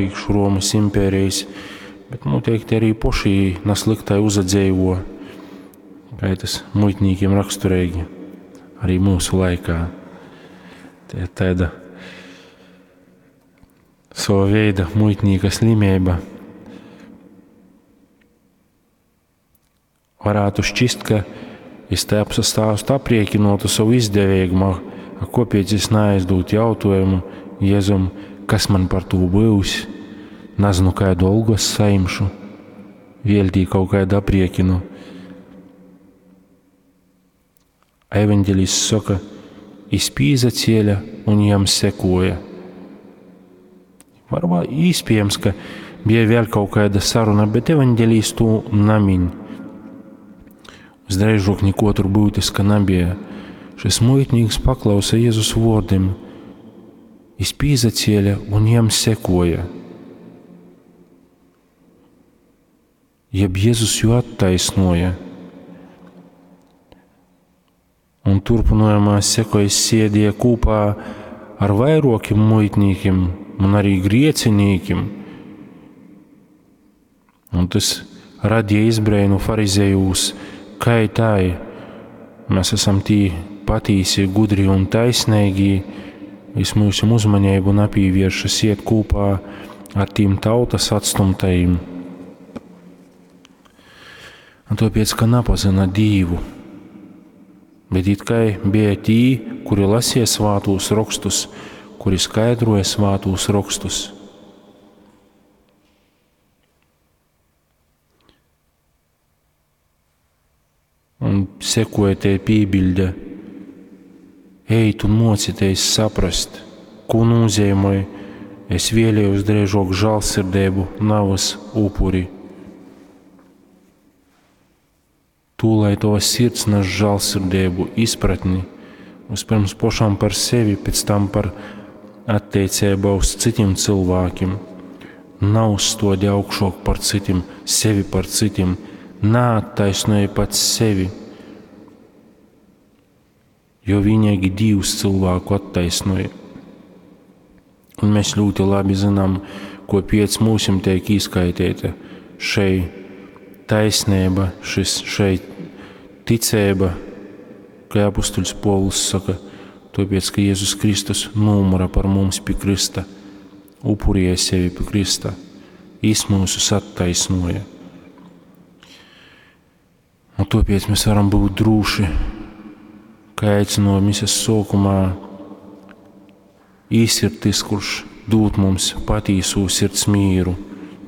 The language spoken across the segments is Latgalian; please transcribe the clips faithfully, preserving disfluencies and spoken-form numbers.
prīkš Romys imperejis, bet nūteikti arī poši naslyktai uzadzeivo, kai tas muitnīkim rakstureigi arī mūsu laikā. Te ir taida sava veida muitnīka slimība. Varētu šķist, ka es te apsastāstu aprēķinotu savu izdevēgumu, a kopēc es naizdūt jautājumu Jēzum, kas man par to būs, nezinu, kādu algu es saimšu, vēļ tī kaut kādu aprēķinu. Evaņģelists saka, jis pīzacēļa un jam sekoja. Varbūt iespējams, ka bija vēl kaut kāda saruna, bet evaņģēlijs to namiņ. Visdrīzāk neko tur būtiska nebija. Šis muitnīks paklausa Jēzus vārdiem, jis pīzacēļa un jam sekoja. Jeb Jēzus jū attaisnoja. Un turpinājumā sekoja sēdēja kopā ar vairokiem muitnīkiem un arī griecinīkiem. Un tas radīja izbrēnu farizejūs, kai tai mēs esam tī patīsi, gudri un taisnīgi, vis mūsu uzmanību napīvēršas iet kopā ar tīm tautas atstumtajiem. Un tāpēc, ka napazina Dīvu, bet it kā bija tī, kuri lasīja svātūs rakstus, kuri skaidroja svātūs rakstus. Un sekoja te pībilde, ejit un mocieties saprast, ko nozīmē, es vēlējos drēžok žālsirdību, navas upuri. Tu, lai tava sirds nes žālsirdību, izpratni, vispirms pašam par sevi, pēc tam par attiecībā uz citiem cilvēkiem. Nav uzstodi augšāk par citiem, sevi par citiem, neattaisnoji pats sevi, jo vienīgi Dievs cilvēku attaisnoja. Un mēs ļoti labi zinām, ko piec mūsim tiek izskaitīta šei taisnība, šis šeit ticība, kā apustuļs Povuls saka, tāpēc, ka Jēzus Kristus nomura par mums pie Krista, upurēja sevi pie Krista, jis mūsus attaisnoja. Un tāpēc mēs varam būt droši, kā aicināja mises sākumā, īs ir tas, kurš dod mums patīso sirds mīru.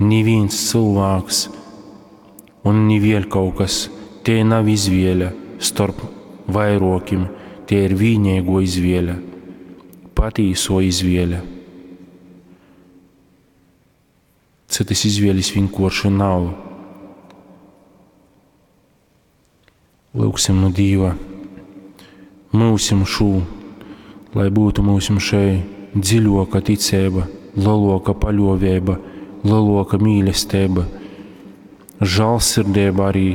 Neviens cilvēks un ni vēl kaut kas, te nav izvēle starp vairokim, tie ir vienīgo izvēle, patīso izvēle. Citas izvēles vienkārši nav. Lūksim no Dieva, mūsim šo, lai būtu mūsim šai dziļoka ticība, lielāka paļāvība, lielāka mīlestība, žēlsirdība arī.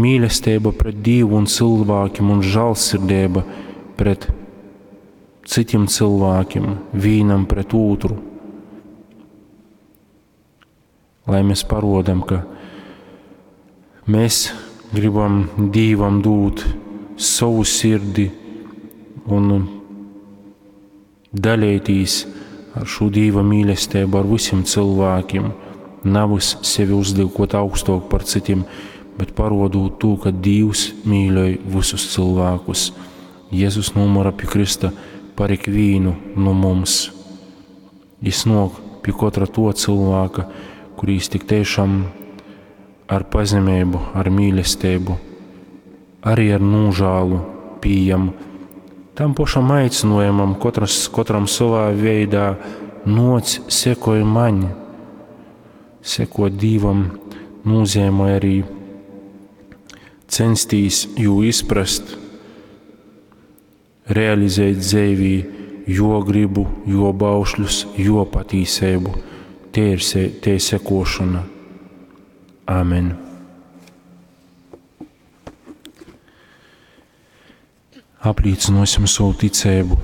Mīlestība pret Dievu un cilvēkiem un žēlsirdība pret citiem cilvēkiem, vienam pret otru. Lai mēs parodam, ka mēs gribam Dievam dot savu sirdi un dalīties ar šo Dieva mīlestību ar visiem cilvēkiem, nevis sevi uzliekot augstāk par citiem, bet parodot to, ka Dievs mīļoj visus cilvēkus. Jēzus nomura pie Krista par ikvienu no mums. Jis nāk pie katra to cilvēka, kurīs tik tiešām ar pazemību, ar mīlestību, arī ar nožēlu pieejam tam pašam aicinājumam, katras, katram savā veidā, noc, sekoj man. Sekot Dievam nozīmē arī censties jū izprast, realizēt dzīvī jo gribu, jo baušļus, jo patīsību. Te ir, se, te ir sekošana. Āmen. Apliecināsim savu ticību.